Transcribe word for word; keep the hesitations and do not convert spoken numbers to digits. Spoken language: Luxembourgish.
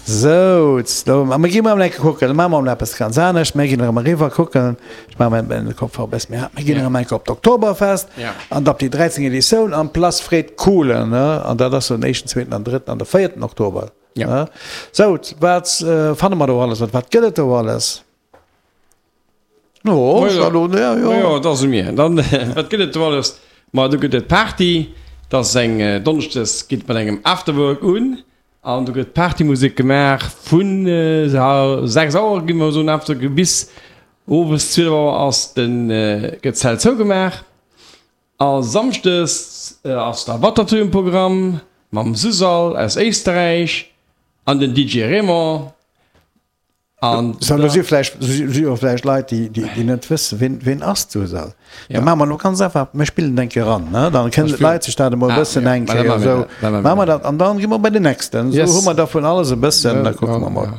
Sou, do, a mir gi mol eng Kéier kucken, da maache mer mol eppes ganz anescht, mir ginn erëm eriwwer kucken, ech maache mer den Kopfhörer e bësse méi haart, mir ginn erëm eng Kéier op d'Oktoberfest an op déi dräizéng Editioun am Place Fred Kohlen, ne, an dat ass den éischten, zweeten an drëtten an de véierten Oktober. Ne. Sou, wat fanne mer do alles, wat gëtt et do alles? Jo, jo, dat ass u mir. Dann, wat gëtt et do alles? Ma do gëtt et Party, dat ass eng Donneschdes geet mat engem Afterwork un. An do gëtt Partymusek gemaach vun sechs Auer, gi mer soen, after bis owes zwielef Auer ass den, gëtt d'Zelt zougemaach. A Samschdes ass da Watertour um Programm mam Susal aus Éisterräich an den D J Raymond. An so, da si vläicht, si jo vläicht Leit, déi, déi, déi net wëssen, wien, wien ass d'Susal. Ja. Da maache mer lo ganz einfach, mir spillen eng Kéier eran, ne? Dann kënnen d'Leit sech dat emol e bëssen eng Kéier esou. Maache mer dat an dann gi mer bei den nächsten. Esou hu mer da vun alles e bëssen, da kucke mer mol.